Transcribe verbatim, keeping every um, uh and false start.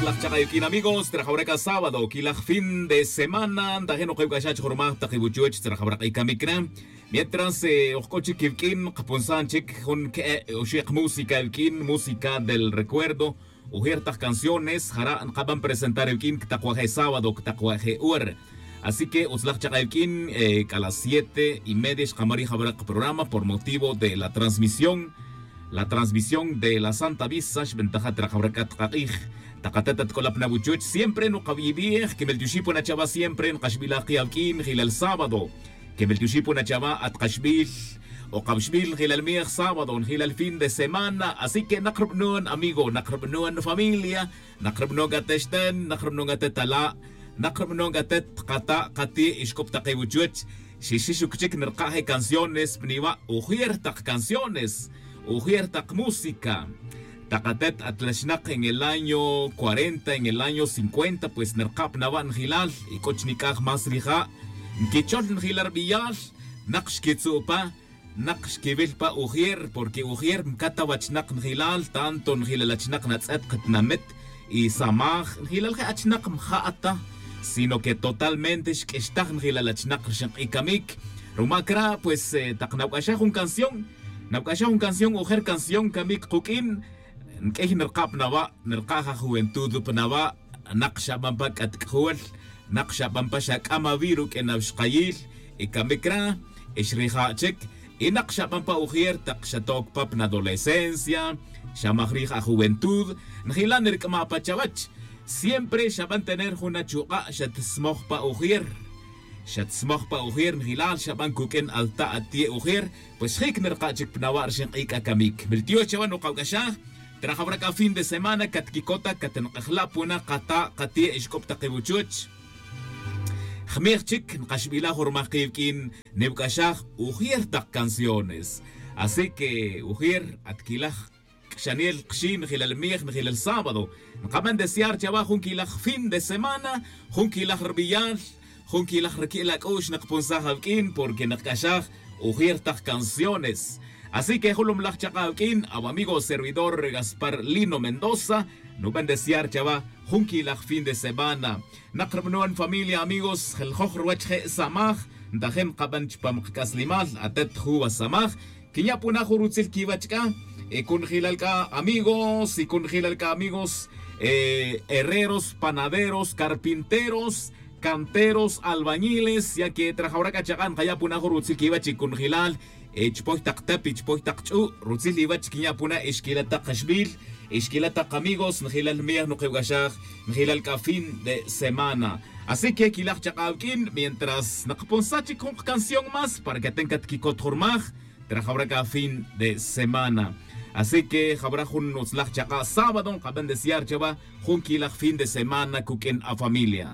Laj chak'a' iwq'uin amigos, trajawra c'a sábado quilaj fin de semana ntajin ok iwc'axach jurmaj tak iwuchuch trajawra k'ay camic na. Mientras ojc'o chic iwq'uin kapunsan chic jun que'e' oxi' kamúsica iwq'uin música del recuerdo. Ujier tak canciones jara' nkaban presentar iwq'uin ctakwaje' sábado ctakwaje' hora. Así que utzlaj chak'a' iwq'uin c'a las siete y media xkamarij jawra' kaprograma por motivo de la transmisión la transmisión de la santa misa xbentaja' trajawra c'a tkak'ij. Tak atet atk'olap na wuchuch siempre nukabiyibij quimel tioxipuna chawa siempre nkaxbilaj ki awq'uin jilal sábado. Quimel tioxipuna chawa atkaxbil o kabxbil jilal mij sábado jilal fin de semana así que nak rubanon amigo nak rubanon familia. Nak rubanon c'a texten nak rubanon c'a tet ala'. Nak rubanon c'a tet kata' kati' ixc'up tak iwuchuch. Xixixuc chic nirka' je canciones pniwa' ujier tak canciones ujier tak música. Tak atet atlaxnak en el año cuarenta en el año cincuenta pues nirka' pnawa' njilal y c'o chnic'aj más rija'. Nquichol njilal rbiyal. Nak xquitzu' pa nak xquiwil pa ujier porque ujier mcat awachnak njilal tanto njilal achnak natz'et katinamit y samaj njilal je' achnak mja' ta sino que totalmente xq'uixtaj njilal achnak rxin k'ij camic. Ruma cra' pues tak nawc'axaj jun canción nawc'axaj jun canción ujer canción camic kuq'uin. Nq'uiy nrka' pnawa' nrka' ja juventud pnawa'. Nak xaban pa c'atc'jul nak xaban pa xac'am awi' ruq'uin awixkayil y camic ra' xrija' chic. Y nak xaban pa ujier tak xatoc pa pna adolescencia xamaj rij ajuventud. Njila' nirc'ama' pa chawech siempre xaban tener jun achuk'a' xatsmoj pa ujier. Xatsmoj pa ujier njilal xaban cuq'uin alta' atie' ujier. Pues jic nirka' chic pnawa' rxin k'ij c'a camic miltiox chawa nukawc'axaj. Trajawra c'a fin de semana catquicot ta catnak'ajla' puna kata' kati' ixc'up tak iwuchuch. Jmij chic nkaxbila' jurmaj kiwq'uin niwc'axaj ujier tak canciones. Así que ujier atquilaj kxanil kxi' njilal mij njilal sábado. Nkaban desear chawa jun quilaj fin de semana jun quilaj rbiyal jun quilaj rqui'l ac'u'x nkapunsaj awq'uin porque nkc'axaj ujier tak canciones. Así que julumlaj chaka' awq'uin awamigo servidor gaspar lino mendoza. Nuben desear chawa jun quilaj fin de semana. Nak rubanon familia amigos jeljoj ruwech je' samaj ntajin nkaban chupam kac'aslimal atet juwa samaj. Quinya' puna jun rutzil quiwech c'a y cunjilal c'a amigos y cunjilal c'a amigos herreros panaderos carpinteros canteros albañiles ya que trajawra c'a chaka' nkaya' puna jun rutzil quiwech y cunjilal. Chupoy tak tep y chupoy tak ch'u' rutzil iwech quinya' puna y xquila' tak kaxbil y xquila' tak kamigos njilal mij nukewc'axaj njilal c'a fin de semana. Así que quilaj chaka' awq'uin mientras nakapunsaj chic jun kacanción más para que ten catquicot jurmaj. Trajawra c'a fin de semana. Así que jawra jun utzlaj chaka' sábado nkaben desear chawa jun quilaj fin de semana cuq'uin afamilia.